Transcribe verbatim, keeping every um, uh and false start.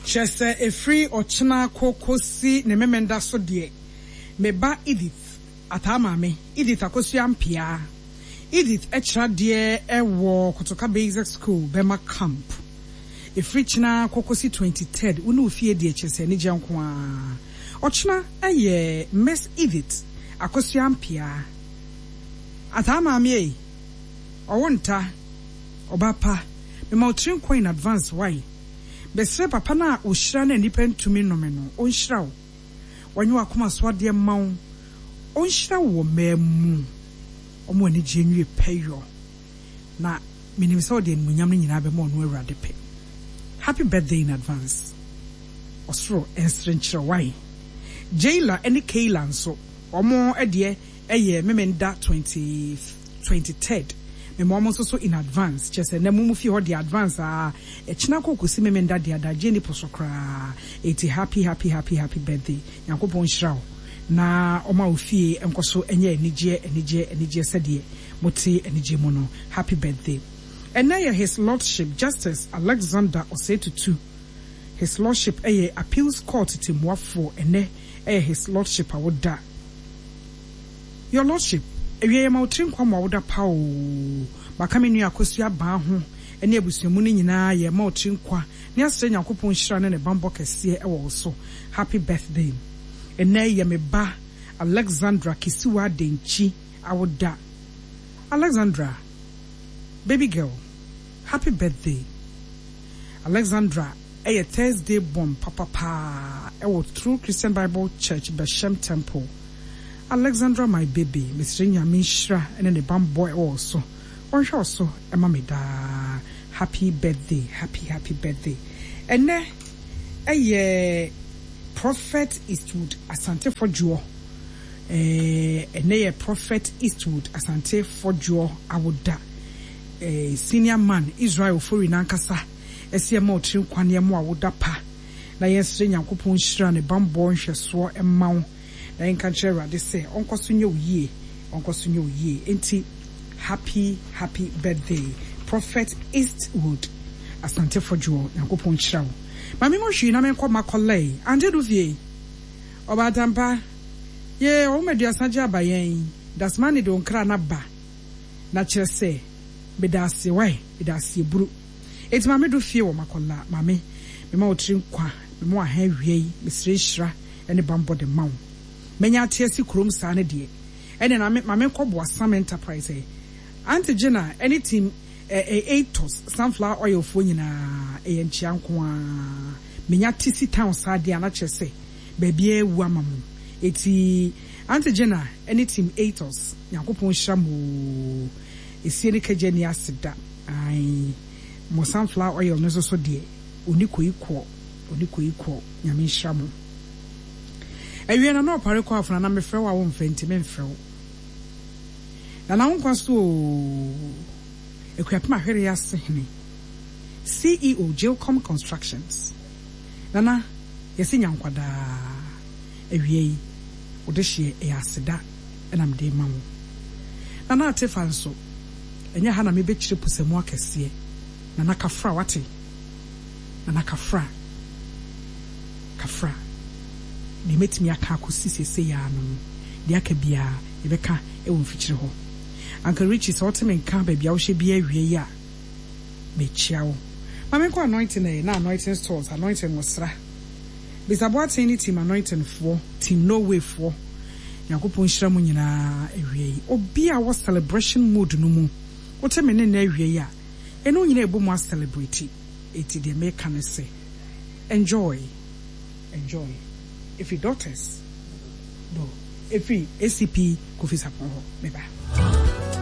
Kyerɛ sɛ ɛfiri ɔkyena kɔ kɔsi ne Memenda so deɛ, me ba Edith Ataa maame, Edith Akosua Ampiaa. Edith kyerɛ adeɛ wɔ Kotoka Basic School, Bɛma Camp. Ɛfiri kyena kɔ kɔsi twenty third, wo ne wo fie deɛ kyerɛ sɛ anigyeɛ nko ara. Ɔkyena yɛ Miss Edith Akosua Ampiaa. Ataa maame ei, ɔwo nta, ɔba pa, mema wo tiri nkwa in advance wai. Mesrɛ papa no a ɔhyira na nnipa ntumi nnome no, ɔnhyira wo. Ɔnyɛ w'akoma so adeɛ mma wo. Ɔnhyira wo wɔ mmaa mu. Ɔma w'anigyeɛ nwie pɛyɔ. Na menim sɛ ɔde animuonyam no nyinaa bɛma ɔno Awurade pɛ. Happy birthday in advance. Ɔsoro nsere nkyerɛ wo wai. Jayla ne Kayla nso, wɔn deɛ ɛyɛ Memenda twenty twenty third. Mema wɔn nso so in advance. Kyerɛ sɛ nnɛ mo mu fie hɔ deɛ advance aa. Ɛkyena kɔ kɔsi Memenda deɛ adagyeɛ nni po so koraa. Enti happy happy happy happy birthday. Nyankopɔn nhyira wo na ɔma wo fie nkɔ so nyɛ anigyeɛ anigyeɛ anigyeɛ sɛdeɛ mote anigyeɛ mu no. Happy birthday. Ɛnnɛ yɛ His Lordship Justice Alexander Osei Tutu. His Lordship yɛ Appeals Court tɛmmuafoɔ. Ɛnnɛ yɛ His Lordship awoda. Your Lordship, awia yɛma wo tiri nkwa ma woda pa oo. Maka me nua Akosua Abaa ho ne abusua mu no nyinaa yɛma wo tiri nkwa ne asrɛ Nyankopɔn nhyira ne ne bammɔ kɛseɛ wɔ wo so. Happy birthday. Ɛnnɛ yɛ me ba Alexandra Kisiwa Denkyi awoda. Alexandra, baby girl, happy birthday. Alexandra ɛyɛ Thursday born papapaa ɛwɔ True Christian Bible Church Bɛhyɛm Temple. Alexandra my baby, mesrɛ Nyame nhyira ne ne bammɔ ɛwɔ wo so. Ɔnhwɛ wo so ɛma me daa. Happy birthday, happy happy birthday. Ɛnnɛ ɛyɛ Prophet Eastwood Asante Fodjour. Eh, ɛnnɛ yɛ Prophet Eastwood Asante Fodjour awoda. Eh, senior man Israel Ofori nankasa ɛsɛ ɛma ɔtiri nkwa ne ɛmo awoda pa. Na yɛnsrɛ Nyankopɔn nhyira ne bammɔ nhwɛsoɔ ɛma wo. Na yɛnka nkyerɛ Awurade sɛ ɔnkɔ so nyɛ wo yie, ɔnkɔ so nyɛ wo yie. Enti happy happy birthday Prophet Eastwood Asante Fodjour. Nyankopɔn nhyira wo. Maame mo hwii na menkɔ makɔlɛe. Ante do fie. Ɔbaatampa. Ye ɔwoma aduasa gye aba yɛn. Dasmani de wo nkra na ba. Na kyerɛ sɛ meda ase wae, meda ase buru. Enti maame do fie wɔ makɔla. Maame, mema wo tiri nkwa, mema wo aha awie yi, mesrɛ nhyira ne bammɔ de ma wo. Menya ate asi kurom saa ne deɛ. Ɛne na me maame nkɔ Boasam Enterprise ɛ. Auntie Gina ɛne team ɛ ɛ Atos sunflower oil foɔ nyinaa ɛyɛ nkyea nko ara. Menya te si town saa deɛ a na kyerɛ sɛ baabi awu ama mo. Eti Auntie Gina ɛne team Atos, Nyankopɔn nhyira mo. Esie ne kagya ni ase da. Ai, mo sunflower oil no nso so deɛ oni koi kɔ, oni koi kɔ. Nyame nhyira mo. Awie na na ɔpare kɔ afona na mefrɛ wo a womfrɛ nti memfrɛ wo. Na na wo nkwa so o. Akuapem Ahwere ase hene. C E O Jilcom Constructions. Nana, yɛsi nya nkwadaa. Awie yi, wode hyeɛ ɛyɛ aseda ɛna mede ma wo. Nana Atefa nso, ɛnyɛ ha na mebɛkyerɛ pusamu akɛseɛ. Nana kafra wate. Nana kafra. Kafra. Deɛ mɛtumi aka akɔsi seesei ara no no, deɛ aka biara yɛbɛka ɛwɔ mfikyire hɔ. Uncle Richie, sɛ wote me nka baabi a wohyɛ biara awie yi a, mekyia wo. Ma menkɔ Anointing ɛ, na Anointing Stores, Anointing Nwosra. Bisaboaten ne team Anointing foɔ, team No Way foɔ. Nyankopɔn nhyira mu nyinaa awie yi. Obi a wɔ celebration mood no mu, wote me ne nna awie yi a, ɛno nyinaa ɛbɔ mu a celebrate. Eti deɛ meka ne sɛ, enjoy, enjoy. Efi daughters, do, efi A C P Kofi Sapon hɔ, meba.